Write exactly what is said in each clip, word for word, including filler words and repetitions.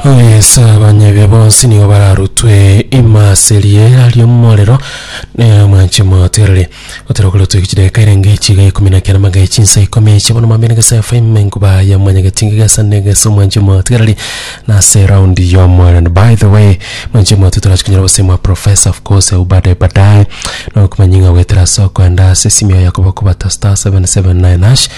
Yes, abanyabia bonsi nigo bararutwe imase riera ri'omorero mwanche moterere otero korotwe chideka erenge chiga ikomi na kenda magae chinsa ikomi chia bono mambia negesa F M enkuba ya mwanyagetinga gesa negesa omwanche motegereri nase round y'omorero. And by the way, mwanche mote, turachikinyora obosemo professor, of course, au baadaye baadaye nokumanya ng'a gwetera ase okoenda ase esimu yago bakobata star seven seven nine hash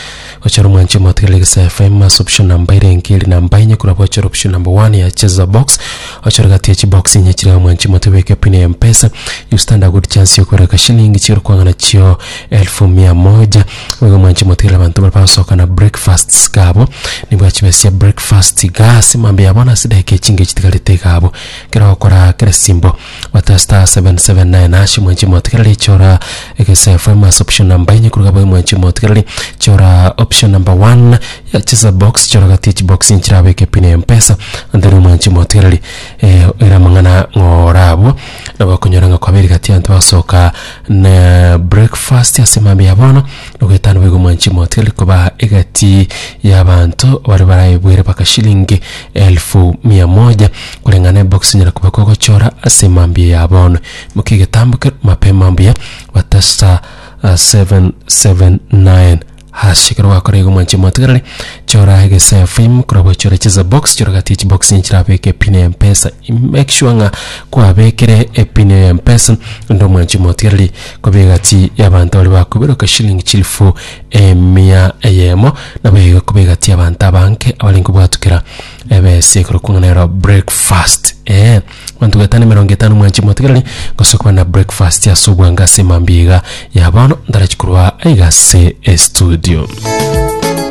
ochora omwanche motegereri Gesa F M ase option number erenge eri namba enye korwa bochora option number one ya cheza box, ochora gati ya chibox inye chire omwanche mote beke pin ya Mpesa. You stand a good chance yokoreka shilingi chiro kwang'ana chio elfu mia moja. Oigo mwanche motegerera, abanto bari bagosoka na breakfasts gabo nibwachibesia breakfast gasi mambe yabo ase dakika echinge chitigarete gabo kero gokora kere simbo bata star seven seven nine hash. Mwanche motegerera, chora Egesa F M ase option number enye kuruga boy. Mwanche motegereri, chora option number one ya cheza box, chora gati chibox nchirabeke pin ya Mpesa, and then mwanche motegereri, eh, era mang'ana ng'ora abwo nabo okonyora ng'a kwaberi gati abanto bagosoka na breakfast ase mambe ya bono nogoetano. Boigo mwanchi motegereri, koba egati y'abanto bari baraebwere baka shilingi elfu mia moja kulingana ebox nyara kuba kogochora ase mambia ya bono mukigetambuke mapema mbuya bata star uh, seven seven nine hash. Ekero wakora igo mwanchi motegereri, chora Egesa F M korabwo chora cheza box, chora gati chibox nchirabeke pin ya Mpesa. Make sure ng'a kwabekere epin ya Mpesa ndo mwanchi motegereri kobe gati y'abanto bari bakoberoka shilingi chilifu emia eyemo, nabo igo kobe gati y'abanto abanke abari nkobwatukera ebesi ekero kung'anero breakfast, eh bantu gatano mirongo etano. Mwanchi motegereri, gose kuba na breakfast ase obwanga ase mambiga ya bono ndarachikorwa aigase estudio.